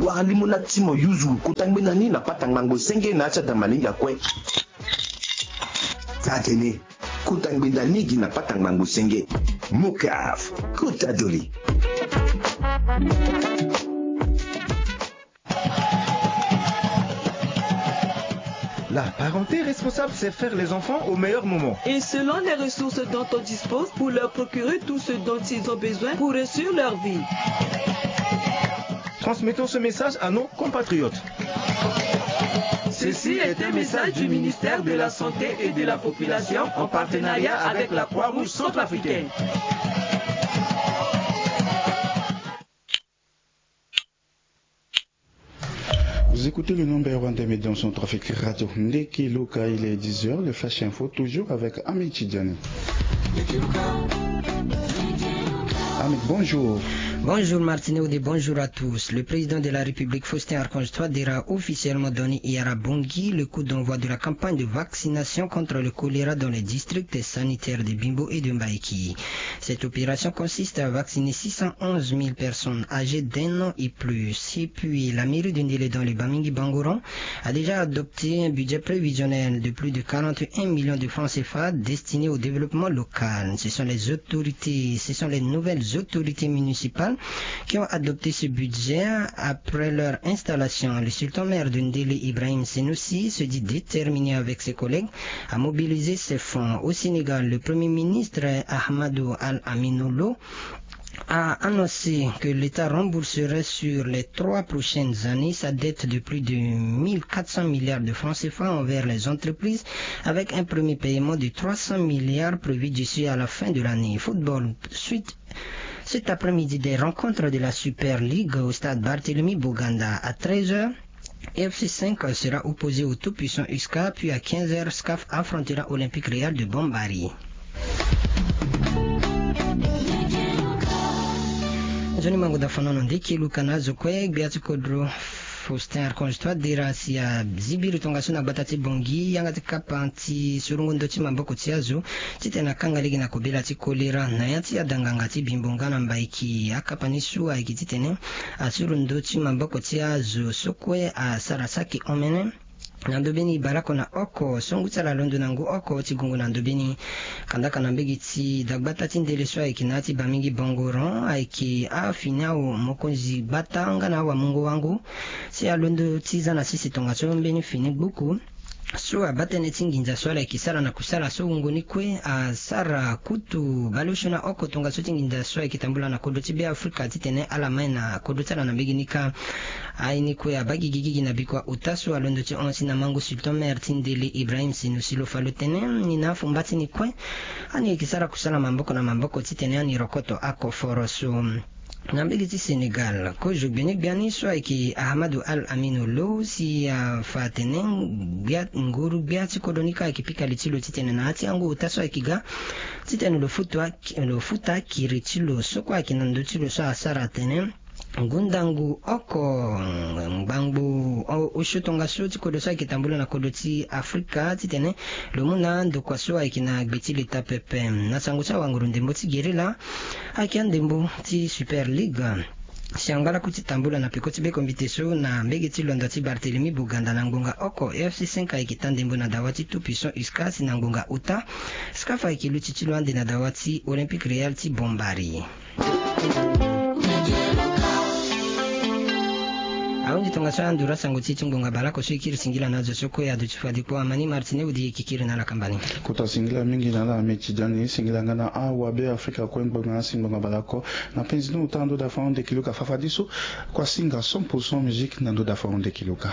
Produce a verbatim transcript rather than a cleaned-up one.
Wara limo na ti mo yuzu kota ngbenda ni na pata ngbangbo senge na ya ti ada malenge akue. Taa tene, kota ngbenda ni gi na pata ngbangbo senge. Mokaf, kota doli. La parenté responsable, c'est faire les enfants au meilleur moment. Et selon les ressources dont on dispose, pour leur procurer tout ce dont ils ont besoin pour réussir leur vie. Transmettons ce message à nos compatriotes. Ceci est un message du ministère de la Santé et de la Population en partenariat avec la Croix-Rouge centrafricaine. Vous écoutez le numéro un des médias en centrafrique, Radio Ndeki Luka. Il est dix heures, le Flash Info, toujours avec Ahmed Tidjani. Ahmed, bonjour. Bonjour Martine Audé, bonjour à tous. Le président de la République, Faustin Archange Touadéra, a officiellement donné hier à Bangui le coup d'envoi de la campagne de vaccination contre le choléra dans les districts sanitaires de Bimbo et de Mbaïki. Cette opération consiste à vacciner six cent onze mille personnes âgées d'un an et plus. Et puis, la mairie de Ndélé dans le Bamingui Bangoran a déjà adopté un budget prévisionnel de plus de quarante et un millions de francs C F A destiné au développement local. Ce sont les autorités, ce sont les nouvelles autorités municipales qui ont adopté ce budget après leur installation. Le sultan maire de Ndélé, Ibrahim Senoussi, se dit déterminé avec ses collègues à mobiliser ces fonds. Au Sénégal, le premier ministre Ahmadou Al-Aminou Lo a annoncé que l'État rembourserait sur les trois prochaines années sa dette de plus de mille quatre cents milliards de francs C F A envers les entreprises, avec un premier paiement de trois cents milliards prévu d'ici à la fin de l'année. Football, suite, cet après-midi, des rencontres de la Super League au stade Barthélemy Boganda à treize heures. F C cinq sera opposé au tout-puissant U S C A, puis à quinze heures, S C A F affrontera Olympique Real de Bombari. Nzoni mango da fanono ndeki luka na azo kue gbia ti kodro. Faustin Archange Touadéra si azibiri tongaso na gbata ti Bangui, yanga ti kapa ti surugo ndo ti maboko ti azo titene akanga lege na kobela ti kolera na ya ti adanganga ti Bimbo nga na Mbaiki. Akapa ni so ayeke titene asuru ndo ti maboko ti azo so kue asara saki omene na ndobeni baleoko na oko so ngu ti ala alondo na ngu oko ti gungu na ndobeni. Kandaka na mbege ti dagbata ti ndele so ayeke na ya ti Bamingui Bangoran ayeke afini awo mokonzi gbata nga na awamungo-wango si alondo ti za na sese tongaso mbeni fini gbuku so abaa tënë ti nginza so ala yeke sara na kusala so wungo ni kue asara kutu baleosio na oko tongaso ti nginza so ayeke tambula na kodro ti Beafrika titene ala mai na kodro ti ala na mbege ni kâ. Aye ni kue abaa gigigigi na bikua ota so alondo ti hon si na mangu sultan maire ti ndele Ibrahim Senoussi lo fa lo tene ni na afu mba ti ni kue ani yeke sara kusala maboko na maboko titene ani rokoto akoforo so. Na mbege ti Sénégal, kozo gbenegbia ni so ayeke Ahmadou Al Aminou Lo si afa atene nguru gbia ti kodro ni kâ ayeke pika li ti lo titene na ya ti angu ota so ayeke ga titene lo futa akiri ti lo so kue ayeke na ndö ti lo so asara atene ngu ndangu oko ngbangbo osio tongaso ti kodro so ayeke tambula na kodro ti Afrika titene lo mu na ndokua so ayeke na gbe ti leta pepe. Na sango ti awanguru ndembo ti gerila ayeke andembo ti Super League si angba laku ti tambula na peko ti bekombite so na mbege ti londo ti Barthélemy Boganda na ngbonga oko. F C cinq ayeke taa ndembo na dawa ti tout puissant U S C A si na ngbonga ota S C A F ayeke luti ti lo ande na dawa ti Olympique Real ti Bombari. Ahunzi tongaso anduru asango ti e ti ngbonga baleoko so e kiri singila na azo so kue aduti fade kpo amani Martine Audé e yeke kiri na ala kamba ni. Kota singila mingi na ala Ahmed Tidjani, singila nga na awabe Afrika kue ngbonga asi ngbonga baleoko. Na penzi ni ota na ndo da fa ahon ndeki luka fafadeso. Kua singa cent pour cent musique na ndo da fa ahon ndeki luka.